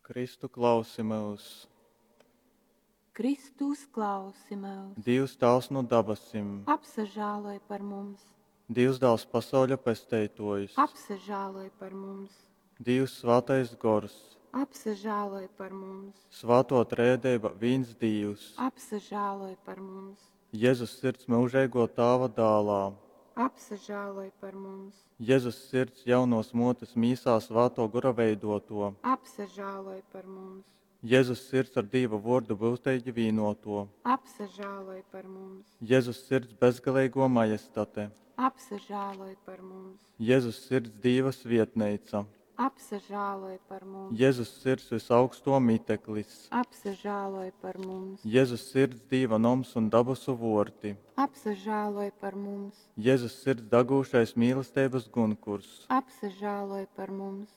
Kristu, klausi myus! Kristu, uzklausi myus! Dīvs Tāvs nu dabasim! Apsažāloj par mums! Dīvs Dāls pasauļa Pesteitōjs! Apsažāloj par mums! Dīvs Svātais Gors! Apsažāloj par mums! Svātō Trejadeiba vīns Dīvs! Apsažāloj par mums! Jezus Sirds myužeigō Tāva Dālā! Apsažāloj par mums! Jezus Sirds jaunōs Mōtes mīsā Svātō Gora veidōtō! Apsažāloj par mums! Jezus Sirds ar Dīva Vōrdu byuteigi vīnōtō! Apsažāloj par mums! Jezus Sirds bezgaleigō Majestate! Apsažāloj par mums! Jezus Sirds Dīva svietneica! Apsažāloj par mums! Jezus Sirds vysaugstō miteklis! Apsažāloj par mums! Jezus Sirds Dīva noms un dabasu vōrti! Apsažāloj par mums! Jezus Sirds dagūšais mīlesteibas gunkurs! Apsažāloj par mums!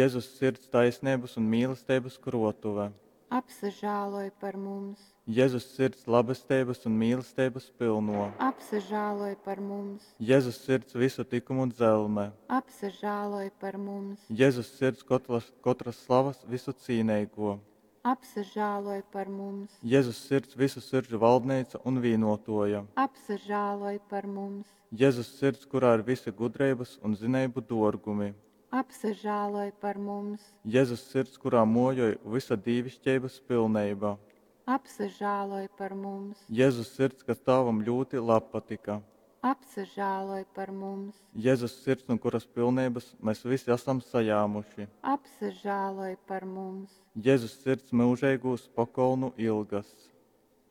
Jezus Sirds taisneibas un mīlesteibas krōtuve! Apsažāloj par mums! Jezus Sirds labesteibas un mīlesteibas pylnō! Apsažāloj par mums! Jezus Sirds vysu tykumu dzelme! Apsažāloj par mums! Jezus Sirds kotras, kotras slavas vysucīneigō! Apsažāloj par mums! Jezus Sirds vysu siržu valdneica un vīnōtōja! Apsažāloj par mums! Jezus Sirds, kurā ir vysi gudreibas un zineibu dōrgumi! Apsažāloj par mums! Jezus Sirds, kurā mōjoj vysa dīviškeibas pilneiba! Apsažāloj par mums! Jezus Sirds, kas Tāvam ļūti labpatyka! Apsažāloj par mums! Jezus Sirds, nu kuras pilneibas mes vysi asam sajāmuši! Apsažāloj par mums! Jezus Sirds myužeigūs pokolnu ilgas!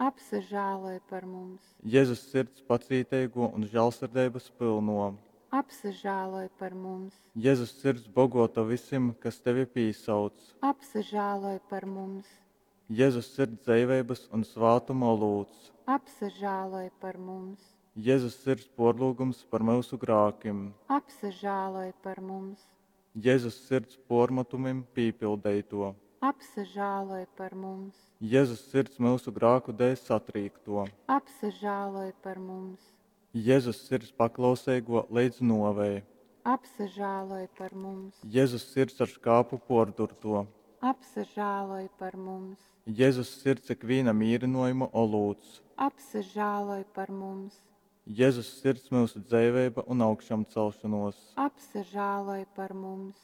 Apsažāloj par mums! Jezus Sirds pacīteigō un žālsirdeibas pylnō! Apsažāloj par mums! Jezus Sirds bogōta vysim, kas tevi pīsauc! Apsažāloj par mums! Jezus Sirds dzeiveibas un svātuma olūts! Apsažāloj par mums! Jezus Sirds pōrlyugums par myusu grākim! Apsažāloj par mums! Jezus Sirds pōrmatumim pīpildeitō! Apsažāloj par mums! Jezus Sirds myusu grāku dēļ satrīktō! Apsažāloj par mums! Jezus Sirds paklauseigō leidz nōvei! Apsažāloj par mums! Jezus Sirds ar škāpu pōrdurtō! Apsažāloj par mums! Jezus Sirds ikvīna mīrynōjuma olūts! Apsažāloj par mums! Jezus Sirds myusu dzeiveiba un augšamcelšonōs! Apsažāloj par mums!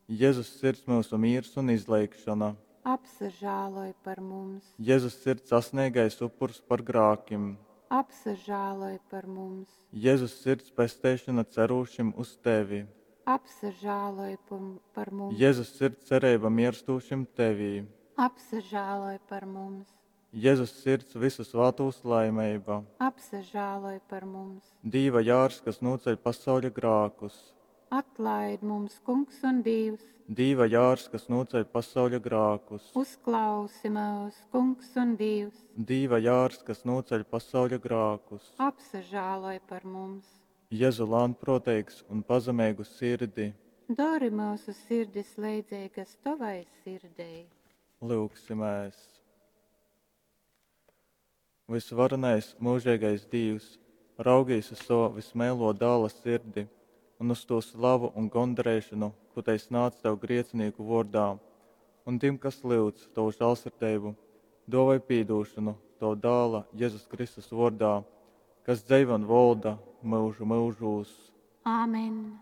Jezus Sirds myusu mīrs un izleigšona! Apsažāloj par mums! Jezus Sirds asneigais upurs par grākim! Apsažāloj par mums! Jezus Sirds pesteišona cerūšim uz tevi! Apsažāloj par mums! Jezus Sirds cereiba mierstūšim tevī! Apsažāloj par mums! Jezus Sirds vysu svātūs laimeiba! Apsažāloj par mums! Dīva jārs, kas nūceļ pasauļa grākus! Atlaid mums, Kungs un Dievs! Dīva jārs, kas nūceļ pasauļa grākus! Uzklausi mūs, Kungs un Dievs! Dīva jārs, kas nūceļ pasauļa grākus! Apsažāloj par mums! Jezu lānprōteigs un pazemeigu sirdi! Dori mūsu sirdis leidzīgas tavai sirdei! Lyugsimēs! Vysvarenais, mūžīgais Dīvs, raugīs uz sava vismeilo dāla sirdi un uz to slavu un gondarēšanu, ko tai snāc tev griecinīku vōrdā, un tim, kas lyudz tavu žālsirdību, dāvāj pīdūšanu tavu dāla Jēzus Kristus vōrdā, kas dzeivo un volda mūžu mūžūs. Āmen!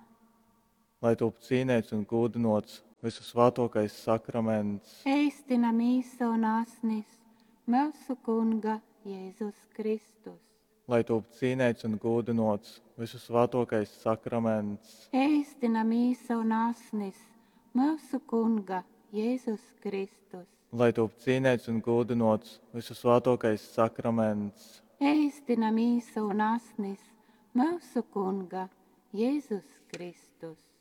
Lai top cīnēts un gūdinots visu svātokais sakraments. Eistina mīsa un asnis, mūsu Kunga Jēzus Kristus. Lai top cīnēts un gūdinots visu svātokais sakraments. Eistina mīsa un asnis, mūsu Kunga Jēzus Kristus. Lai top cīnēts un gūdinots visu svātokais sakraments. Eistina mīsa un asnis, mūsu Kunga Jēzus Kristus.